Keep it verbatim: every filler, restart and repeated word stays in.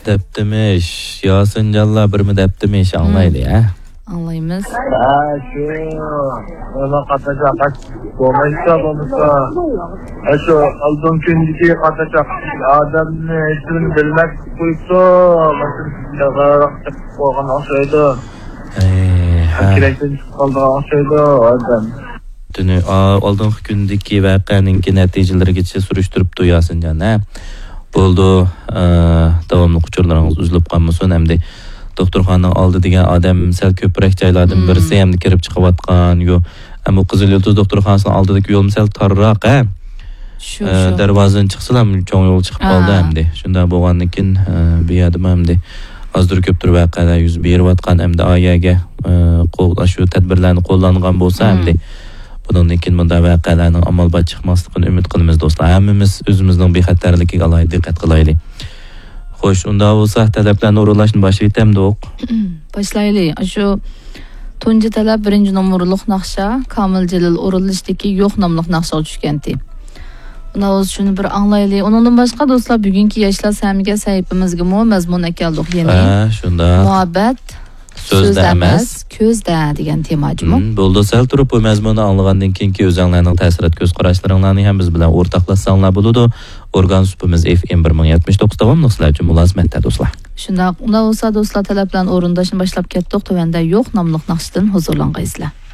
دەپتىمىش، ياسىنجانلار بىرمۇ دەپتىمىش، ئاڭلايلى، ھە؟ ئاڭلايمىز. ھە، شۇ، نېمە قاتناشاق، بولمايسا، بولمىسا، ھە، شۇ ئالدىنقى كۈندىكى قاتناشاق ئادەمنى ھېچنېمىنى بىلمەس قويۇپتۇ، ماشىنا قويغان ئوخشايدۇ. ئەي، ھە. كېرەكتىن چىقىپ قالىدىغان ئوخشايدۇ ئادەم. دۈنى، ئا، ئالدىنقى كۈندىكى ۋەقەنىڭكى نەتىجىلىرىگىچە سۈرۈشتۈرۈپتۇ ياسىنجان، ھە؟ بولىدۇ، ئە، داۋاملىق ئۇچۇرلىرىڭىز ئۈزۈلۈپ قالمىسۇن. ئەمدى دوختۇرخانىنىڭ ئالدى دېگەن ئادەم سەل كۆپرەك جايلاردىن مم. بىرسى، ئەمدى كىرىپ چىقىۋاتقان يو-، ئەمما قىزىل يۇلتۇز دوختۇرخانىسىنىڭ ئالدىدىكى يولمۇ سەل تارراق، ھە؟ شۇ، ئە، شۇ. دەرۋازىدىن چىقسىلا چوڭ يول چىقىپ قالدى ئا. ئەمدى. شۇنداق بولغاندىن كېيىن، ئە، بۇ يەردىمۇ ئەمدى ئازدۇر كۆپتۇر ۋەقەلەر يۈز بېرىۋاتقان ئەمدى ئا يەرگە، ئە، قول-، شۇ تەدبىرلەرنى قوللانغان بولسا مم. ئەمدى بۇنىڭدىن كېيىن بۇنداق ۋەقەلەرنىڭ ئامال بار چىقماسلىقىنى ئۈمىد قىلىمىز دوستلار. ھەممىمىز ئۆزىمىزنىڭ بىخەتەرلىكىگە ئالاھىدە دىققەت قىلايلى. خوش، ئۇنداق بولسا تەلەپلەرنى ئورۇنلاشنى باشلىۋېتەمدۇق. باشلايلى. شۇ تۇنجى تەلەپ بىرىنچى نومۇرلۇق ناخشا، كامىل جېلىل ئورۇنلىشىدىكى يوق ناملىق ناخشىغا چۈشكەنتى. ئۇنداق بولسا شۇنى بىر ئاڭلايلى. ئۇنىڭدىن باشقا دوستلار، بۈگۈنكى ياشلار سەھىمىگە سەھىپىمىزگىمۇ مەزمۇن ئەكەلدۇق يەنە. ھە، شۇنداق. مۇھەببەت سۆزدە سۆزدە ئەمەس. ئەمەس، كۆزدە دېگەن تېما جۇمۇ. مم، بولدى، سەل تۇرۇپ بۇ مەزمۇننى ئاڭلىغاندىن كېيىنكى ئۆزەڭلارنىڭ تەسىرات كۆز قاراشلىرىڭلارنى ھەم بىز بىلەن ئورتاقلاشساڭلار بولىدۇ. ئورگان سۇپىمىز ئېف ئېم بىر مىڭ يەتمىش توققۇز داۋاملىق سىلەر ئۈچۈن مۇلازىمەتتە دوستلار. شۇنداق، ئۇنداق بولسا دوستلار، تەلەپلەرنى ئورۇنداشنى باشلاپ كەتتۇق. تۆۋەندە يوق ناملىق ناخشىدىن ھۇزۇرلانغايسىلەر.